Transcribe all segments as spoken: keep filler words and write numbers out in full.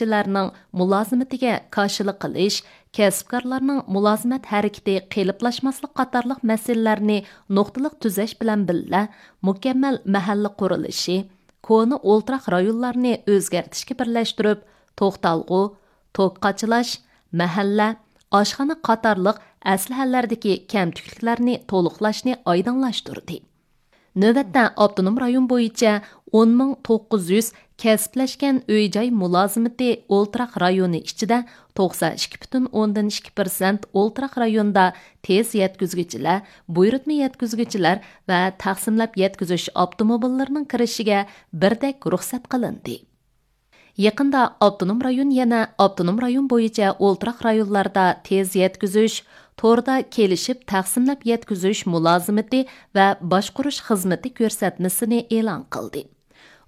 كەسىپلەرنىڭ مۇلازىمىتىگە كاشىلىق قىلىش، كەسىپكارلارنىڭ مۇلازىمەت ھەرىكىتى قېلىپلاشماسلىق قاتارلىق مەسىلىلەرنى نۇقتىلىق تۈزەش بىلەن بىللە، مۇكەممەل مەھەللە قۇرۇلۇشى، كونا ئولتۇراق رايونلارنى ئۆزگەرتىشكە بىرلەشتۈرۈپ، توختالغۇ، توك قاچىلاش، مەھەللە، ئاشخانا قاتارلىق ئەسلىھەلەردىكى كەمتۈكلۈكلەرنى تولۇقلاشنى ئايدىڭلاشتۇردى. نۆۋەتتە ئاپتونوم رايون بويىچە ئون مىڭ توققۇز يۈز كەسىپلەشكەن ئۆي-جاي مۇلازىمىتى ئولتۇراق رايونى ئىچىدە توقسان ئىككى پۈتۈن ئوندىن ئىككى پىرسەنت ئولتۇراق رايوندا تېز يەتكۈزگۈچىلەر، بۇيرۇتما يەتكۈزگۈچىلەر ۋە تەقسىملەپ يەتكۈزۈش ئاپتوموبىللىرىنىڭ كىرىشىگە بىردەك رۇخسەت قىلىندى. يېقىندا ئاپتونوم رايون يەنە ئاپتونوم رايون بويىچە ئولتۇراق رايونلاردا تېز يەتكۈزۈش، توردا كېلىشىپ تەقسىملەپ يەتكۈزۈش مۇلازىمىتى ۋە باشقۇرۇش خىزمىتى كۆرسەتمىسىنى ئېلان قىلدى.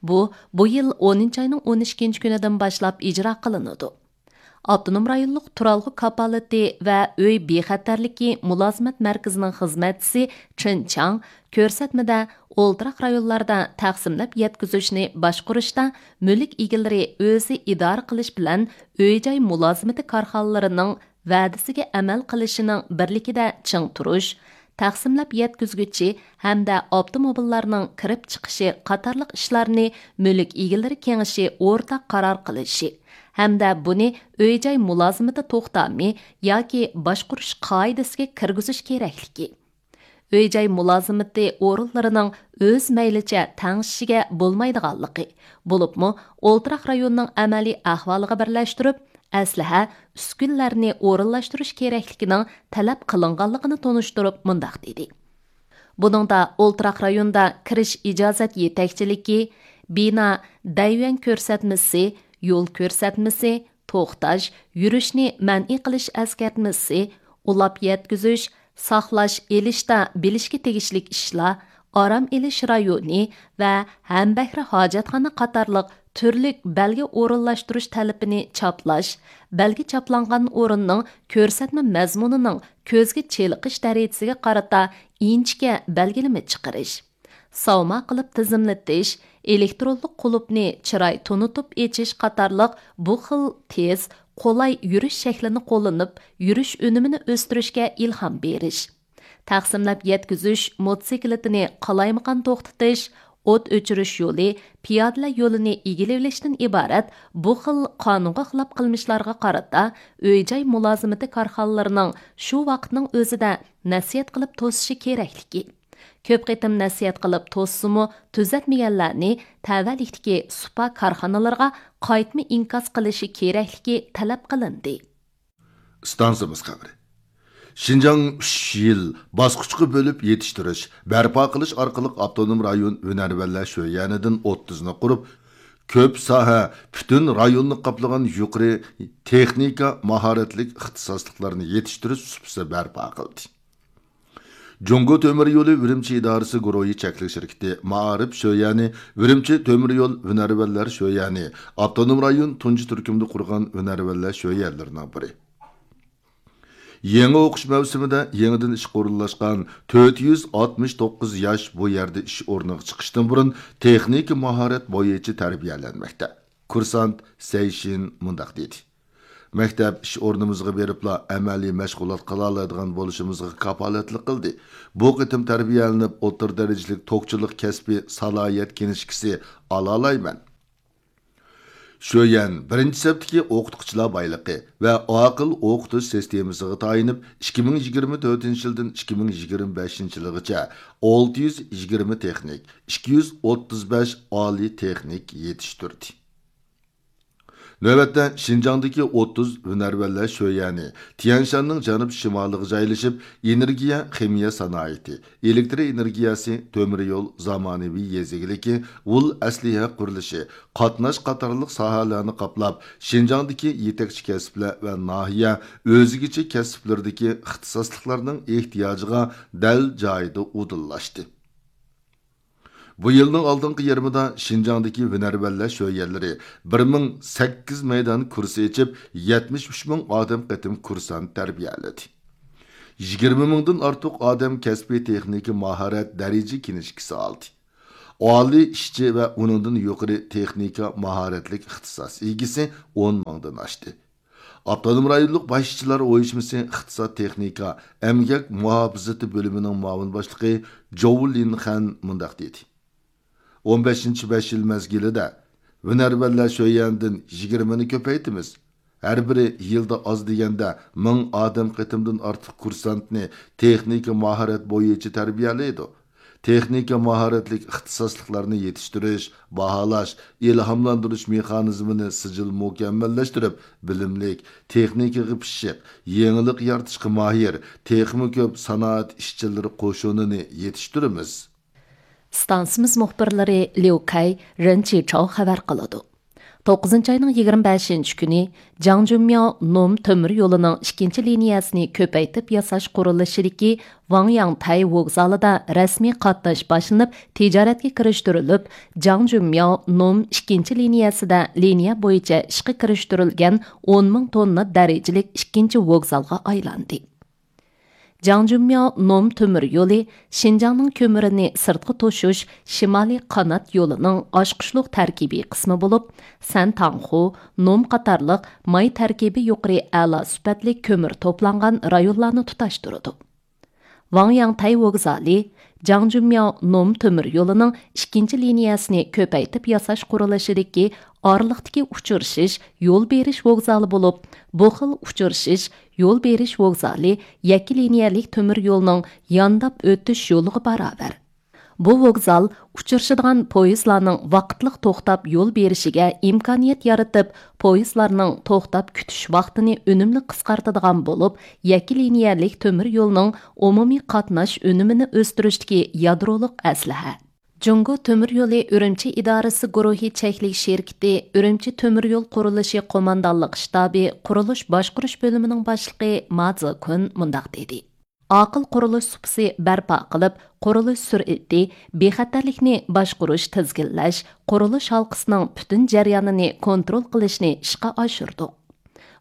بۇ، بۇ يىل ئونىنچى ئاينىڭ ئون ئىككىنچى كۈنىدىن باشلاپ ئىجرا قىلىنىدۇ. ئاپتونوم رايونلۇق تۇرالغۇ كاپالىتى ۋە ئۆي بىخەتەرلىكى مۇلازىمەت مەركىزىنىڭ خىزمەتچىسى چېن چاڭ كۆرسەتمىدە ئولتۇراق رايونلاردا تەقسىملەپ يەتكۈزۈشنى باشقۇرۇشتا مۈلۈك ئىگىلىرى ئۆزى ئىدارە قىلىش بىلەن ئۆي-جاي مۇلازىمىتى كارخانىلىرىنىڭ ۋەدىسىگە ئەمەل قىلىشىنىڭ بىرلىكىدە چىڭ تۇرۇش، تەقسىملەپ يەتكۈزگۈچى ھەمدە ئاپتوموبىللارنىڭ كىرىپ چىقىشى قاتارلىق ئىشلارنى مۈلۈك ئىگىلىرى كېڭىشى ئورتاق قارار قىلىشى ھەمدە بۇنى ئۆي-جاي مۇلازىمىتى توختامى ياكى باشقۇرۇش قائىدىسىگە كىرگۈزۈش كېرەكلىكى، ئۆي-جاي مۇلازىمىتى ئورۇنلىرىنىڭ ئۆز مەيلىچە تەڭشىشىگە بولمايدىغانلىقى، بولۇپمۇ ئولتۇراق رايوننىڭ ئەمەلىي ئەھۋالىغا بىرلەشتۈرۈپ، ئەسلىھە، ئۈسكۈنىلەرنى ئورۇنلاشتۇرۇش كېرەكلىكىنىڭ تەلەپ قىلىنغانلىقىنى تونۇشتۇرۇپ مۇنداق دېدى: بۇنىڭدا ئولتۇراق رايوندا كىرىش ئىجازەت يېتەكچىلىكى، بىنا دەيۋەن كۆرسەتمىسى، يول كۆرسەتمىسى، توختاش، يۈرۈشنى مەنئى قىلىش ئەسكەرتمىسى، ئۇلاپ يەتكۈزۈش، ساقلاش ئېلىشتا بىلىشكە تېگىشلىك ئىشلار، ئارام ئېلىش رايونى ۋە ھەمبەھرە ھاجەتخانا قاتارلىق تۈرلۈك بەلگە ئورۇنلاشتۇرۇش تەلىپىنى چاپلاش، بەلگە چاپلانغان ئورۇننىڭ كۆرسەتمە مەزمۇنىنىڭ كۆزگە چېلىقىش دەرىجىسىگە قارىتا ئىنچىكە بەلگىلىمە چىقىرىش، ساۋما قىلىپ تىزىملىتىش، ئېلېكترونلۇق قۇلۇپنى چىراي تونۇتۇپ ئېچىش قاتارلىق بۇ خىل تېز، قولاي يۈرۈش شەكلىنى قوللىنىپ، يۈرۈش ئۈنۈمىنى ئۆستۈرۈشكە ئىلھام بېرىش. تەقسىملەپ يەتكۈزۈش موتوسىكلىتىنى قالايمىقان توختىتىش، ئوت ئۆچۈرۈش يولى، پىيادىلەر يولىنى ئىگىلىۋېلىشتىن ئىبارەت بۇ خىل قانۇنغا خىلاپ قىلمىشلارغا قارىتا ئۆي-جاي مۇلازىمىتى كارخانىلىرىنىڭ شۇ ۋاقىتنىڭ ئۆزىدە نەسىھەت قىلىپ توسۇشى كېرەكلىكى، كۆپ قېتىم نەسىھەت قىلىپ توسسىمۇ تۈزەتمىگەنلەرنى تەۋەلىكتىكى سۇپا كارخانىلىرىغا قايتما ئىنكاس قىلىشى كېرەكلىكى تەلەپ قىلىندى. ئىستانسىمىز خەۋىرى. شىنجاڭ ئۈچ يىل باسقۇچقا بۆلۈپ يېتىشتۈرۈش، بەرپا قىلىش ئارقىلىق ئاپتونوم رايون ھۈنەرۋەنلەر شۆيەنىدىن ئوتتۇزنى قۇرۇپ، كۆپ ساھە، پۈتۈن رايوننى قاپلىغان يۇقىرى تېخنىكا ماھارەتلىك ئىختىساسلىقلارنى يېتىشتۈرۈش سۇپىسى بەرپا قىلدى. جۇڭگو تۆمۈر يولى ئۈرۈمچى ئىدارىسى گۇرۇھى چەكلىك شىركىتى، مائارىپ شۆيەنى، ئۈرۈمچى تۆمۈر يول ھۈنەرۋەنلەر شۆيەنى، ئاپتونوم رايون تۇنجى تۈركۈمدە قۇرغان ھۈنەرۋەنلەر شۆيەنلىرىنىڭ بىرى. يېڭى ئوقۇش مەۋسۇمىدا يېڭىدىن ئىشقا ئورۇنلاشقان تۆت يۈز ئاتمىش توققۇز ياش بۇ يەردە ئىش ئورنىغا چىقىشتىن بۇرۇن تېخنىكا ماھارەت بويىچە تەربىيەلەنمەكتە. كۇرسانت سەيشىن مۇنداق دېدى: مەكتەپ ئىش ئورنىمىزغا بېرىپلا ئەمەلىي مەشغۇلات قىلالايدىغان بولۇشىمىزغا كاپالەتلىك قىلدى. بۇ قېتىم تەربىيەلىنىپ، ئوتتۇرا دەرىجىلىك توكچىلىق كەسپىي سالاھىيەت كىنىشكىسى ئالالايمەن. شۆيەن بىرىنچى سەپتىكى ئوقۇتقۇچىلار بايلىقى ۋە ئاقىل ئوقۇتۇش سىستېمىسىغا تايىنىپ، ئىككى مىڭ يىگىرمە تۆتىنچى يىلدىن ئىككى مىڭ يىگىرمە بەشىنچى يىلىغىچە ئالتە يۈز يىگىرمە تېخنىك، ئىككى يۈز ئوتتۇز بەش ئالىي تېخنىك يېتىشتۈردى. نۆۋەتتە شىنجاڭدىكى ئوتتۇز ھۈنەرۋەنلەر شۆيەنى، تيەنشاننىڭ جەنۇب شىمالىغا جايلىشىپ، ئېنېرگىيە، خىمىيە سانائىتى، ئېلېكتر ئېنېرگىيەسى، تۆمۈر يول، زامانىۋى يېزا ئىگىلىكى، ئۇل ئەسلىھە قۇرۇلۇشى، قاتناش قاتارلىق ساھەلەرنى قاپلاپ، شىنجاڭدىكى يېتەكچى كەسىپلەر ۋە ناھىيە ئۆزگىچە كەسىپلىرىدىكى ئىختىساسلىقلارنىڭ ئېھتىياجىغا دەل جايىدا ئۇدۇللاشتى. بۇ يىلنىڭ ئالدىنقى يېرىمىدا شىنجاڭدىكى ھۈنەرۋەنلەر شۆيەنلىرى بىر مىڭ سەككىز مەيدان كۇرس ئېچىپ، يەتمىش ئۈچ مىڭ ئادەم قېتىم كۇرسانت تەربىيەلىدى. يىگىرمە مىڭدىن ئارتۇق ئادەم كەسپىي تېخنىكا ماھارەت دەرىجە كىنىشكىسى ئالدى. ئالىي ئىشچى ۋە ئۇنىڭدىن يۇقىرى تېخنىكا ماھارەتلىك ئىختىساس ئىگىسى ئون مىڭدىن ئاشتى. ئاپتونوم رايونلۇق باش ئىشچىلار ئۇيۇشمىسى ئىقتىساد تېخنىكا ئەمگەك مۇھاپىزىتى بۆلۈمىنىڭ مۇئاۋىن باشلىقى جوۋ لىنخەن مۇنداق دېدى: «ئون بەشىنچى بەش يىل مەزگىلىدە ھۈنەرۋەنلەر شۆيەندىن يىگىرمىنى كۆپەيتىمىز. ھەر بىرى يىلدا ئاز دېگەندە مىڭ ئادەم قېتىمدىن ئارتۇق كۇرسانتنى تېخنىكا ماھارەت بويىچە تەربىيەلەيدۇ. تېخنىكا ماھارەتلىك ئىختىساسلىقلارنى يېتىشتۈرۈش، باھالاش، ئىلھاملاندۇرۇش مېخانىزمىنى سىجىل مۇكەممەللەشتۈرۈپ، بىلىملىك، تېخنىكىغا پىششىق، يېڭىلىق يارىتىشقا ماھىر، تېخىمۇ كۆپ سانائەت ئىشچىلىرى قوشۇنىنى يېتىشتۈرىمىز.» ئىستانسىمىز مۇخبىرلىرى ليۇ كەي، رېن چىچاۋ خەۋەر قىلىدۇ. توققۇزىنچى ئاينىڭ يىگىرمە بەشىنچى كۈنى جاڭجۈنمياۋ نوم تۆمۈر يولىنىڭ ئىككىنچى لىنىيەسىنى كۆپەيتىپ ياساش قۇرۇلۇشىدىكى ۋاڭياڭتەي ۋوگزالىدا رەسمىي قاتناش باشلىنىپ، تىجارەتكە كىرىشتۈرۈلۈپ، جاڭجۈنمياۋ نوم ئىككىنچى لىنىيەسىدە لىنىيە بويىچە ئىشقا كىرىشتۈرۈلگەن ئون مىڭ توننا دەرىجىلىك ئىككىنچى ۋوگزالغا ئايلاندى. جاڭجۈنمياۋ نوم تۆمۈر يولى شىنجاڭنىڭ كۆمۈرىنى سىرتقا توشۇش شىمالىي قانات يولىنىڭ ئاچقۇچلۇق تەركىبىي قىسمى بولۇپ، سەنتاڭخۇ، نوم قاتارلىق ماي تەركىبى يۇقىرى ئەلا سۈپەتلىك كۆمۈر توپلانغان رايونلارنى تۇتاشتۇرىدۇ. ۋاڭياڭتەي ۋوگزالى جاڭجۈنمياۋ نوم تۆمۈر يولىنىڭ ئىككىنچى لىنىيەسىنى كۆپەيتىپ ياساش قۇرۇلۇشىدىكى ئارىلىقتىكى ئۇچرىشىش يول بېرىش ۋوگزالى بولۇپ، بۇ خىل ئۇچرىشىش يول بېرىش ۋوگزالى يەككە لىنىيەلىك تۆمۈر يولنىڭ يانداپ ئۆتۈش يولىغا باراۋەر. بۇ ۋوگزال ئۇچرىشىدىغان پويىزلارنىڭ ۋاقىتلىق توختاپ يول بېرىشىگە ئىمكانىيەت يارىتىپ، پويىزلارنىڭ توختاپ كۈتۈش ۋاقتىنى ئۈنۈملۈك قىسقارتىدىغان بولۇپ، يەككە لىنىيەلىك تۆمۈر يولنىڭ ئومۇمىي قاتناش ئۈنۈمىنى ئۆستۈرۈشتىكى يادرولۇق ئەسلىھە. جۇڭگو تۆمۈر يولى ئۈرۈمچى ئىدارىسى گۇرۇھى چەكلىك شىركىتى ئۈرۈمچى تۆمۈر يول قۇرۇلۇشى قوماندانلىق شتابى قۇرۇلۇش باشقۇرۇش بۆلۈمىنىڭ باشلىقى ما زېكۇن مۇنداق دېدى: «ئاقىل قۇرۇلۇش سۇپىسى بەرپا قىلىپ، قۇرۇلۇش سۈرئىتى، بىخەتەرلىكنى باشقۇرۇش، تىزگىنلەش، قۇرۇلۇش ھالقىسىنىڭ پۈتۈن جەريانىنى كونترول قىلىشنى ئىشقا ئاشۇردۇق.»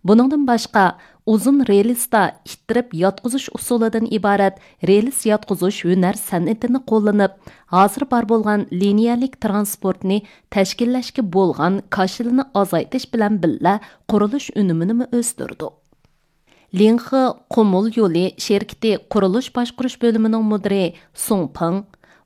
بۇنىڭدىن باشقا، ئۇزۇن رېلىستا ئىتتىرىپ ياتقۇزۇش ئۇسۇلىدىن ئىبارەت رېلىس ياتقۇزۇش ھۈنەر سەنئىتىنى قوللىنىپ، ھازىر بار بولغان لىنىيەلىك تىرانسپورتنى تەشكىللەشكە بولغان كاشىلىنى ئازايتىش بىلەن بىللە، قۇرۇلۇش ئۈنۈمىنىمۇ ئۆستۈردۇق. لىڭخې قۇمۇل يولى شىركىتى قۇرۇلۇش باشقۇرۇش بۆلۈمىنىڭ مۇدىرى سۇڭ پېڭ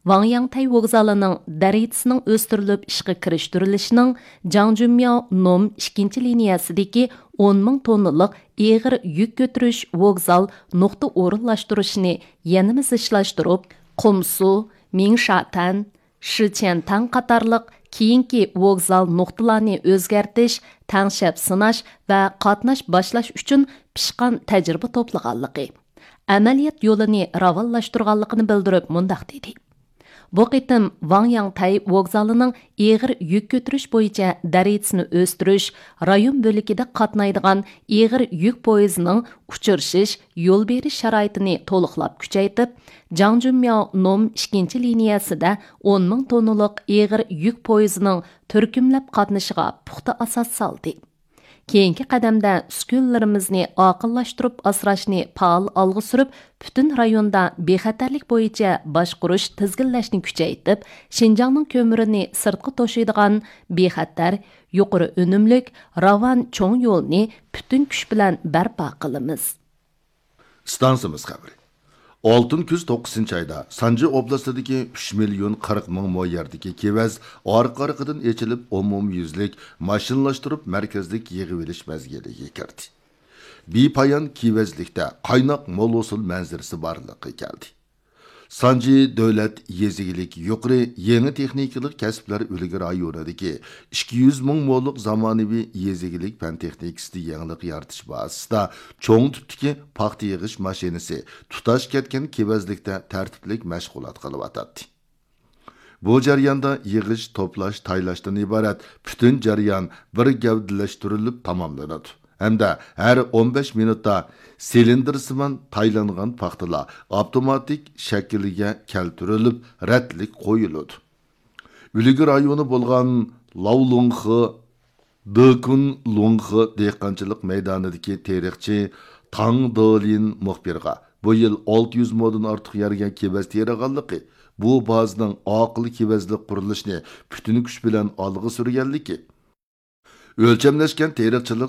ۋاڭياڭتەي ۋوگزالىنىڭ دەرىجىسىنىڭ ئۆستۈرۈلۈپ ئىشقا كىرىشتۈرۈلۈشىنىڭ جاڭجۈنمياۋ نوم ئىككىنچى لىنىيەسىدىكى ئون مىڭ توننىلىق ئېغىر يۈك كۆتۈرۈش ۋوگزال نۇقتا ئورۇنلاشتۇرۇشىنى يەنىمۇ زىچلاشتۇرۇپ، قۇمسۇ، مىڭشاتەن، شىچيەنتاڭ قاتارلىق كېيىنكى ۋوگزال نۇقتىلارنى ئۆزگەرتىش، تەڭشەپ سىناش ۋە قاتناش باشلاش ئۈچۈن پىشقان تەجرىبە توپلىغانلىقى، ئەمەلىيەت يولىنى راۋانلاشتۇرغانلىقىنى بىلدۈرۈپ مۇنداق دېدى: «بۇ قېتىم ۋاڭياڭتەي ۋوگزالىنىڭ ئېغىر يۈك كۆتۈرۈش بويىچە دەرىجىسىنى ئۆستۈرۈش، رايون بۆلىكىدە قاتنايدىغان ئېغىر يۈك پويىزىنىڭ ئۇچرىشىش، يول بېرىش شارائىتىنى تولۇقلاپ كۈچەيتىپ، جاڭجۈنمياۋ نوم ئىككىنچى لىنىيەسىدە ئون مىڭ توننىلىق ئېغىر يۈك پويىزىنىڭ تۈركۈملەپ قاتنىشىغا پۇختا ئاساس سالدى. كېيىنكى قەدەمدە ئۈسكۈنىلىرىمىزنى ئاقىللاشتۇرۇپ ئاسراشنى پائال ئالغا سۈرۈپ، پۈتۈن رايوندا بىخەتەرلىك بويىچە باشقۇرۇش، تىزگىنلەشنى كۈچەيتىپ، شىنجاڭنىڭ كۆمۈرىنى سىرتقا توشۇيدىغان بىخەتەر، يۇقىرى ئۈنۈملۈك، راۋان چوڭ يولنى پۈتۈن كۈچ بىلەن بەرپا قىلىمىز.» ئىستانسىمىز خەۋىرى. ئالتۇن كۈز توققۇزىنچى ئايدا سانجى ئوبلاستىدىكى ئۈچ مىليون قىرىق مىڭ مو يەردىكى كېۋەز ئارقا-ئارقىدىن ئېچىلىپ، ئومۇميۈزلۈك ماشىنىلاشتۇرۇپ مەركەزلىك يىغىۋېلىش مەزگىلىگە كىردى. بىپايان كېۋەزلىكتە قايناق مول ھوسۇل مەنزىرىسى بارلىققا كەلدى. سانجى دۆلەت يېزا ئىگىلىك يۇقىرى يېڭى تېخنىكىلىق كەسىپلەر ئۈلگە رايونىدىكى ئىككى يۈز مىڭ مولۇق زامانىۋى يېزا ئىگىلىك پەن تېخنىكىسىدا يېڭىلىق يارىتىش بازىسىدا چوڭ تىپتىكى پاختا يىغىش ماشىنىسى تۇتاش كەتكەن كېۋەزلىكتە تەرتىپلىك مەشغۇلات قىلىۋاتاتتى. بۇ جەرياندا يىغىش، توپلاش، تايلاشتىن ئىبارەت پۈتۈن جەريان بىر گەۋدىلەشتۈرۈلۈپ تاماملىنىدۇ ھەمدە ھەر ئون بەش مىنۇتتا سىلىندىرسىمان تايلانغان پاختىلار ئاپتوماتىك شەكىلگە كەلتۈرۈلۈپ، رەتلىك قويۇلىدۇ. ئۈلگە رايونى بولغان لاۋلۇڭخې، دېكۇن لۇڭخې دېھقانچىلىق مەيدانىدىكى تېرىقچى تاڭ دېلىن مۇخبىرغا بۇ يىل ئالتە يۈز مودىن ئارتۇق يەرگە كېۋەز تېرىغانلىقى، بۇ بازىنىڭ ئاقىل كېۋەزلىك قۇرۇلۇشىنى پۈتۈن كۈچ بىلەن ئالغا سۈرگەنلىكى، ئۆلچەملەشكەن تېرىقچىلىق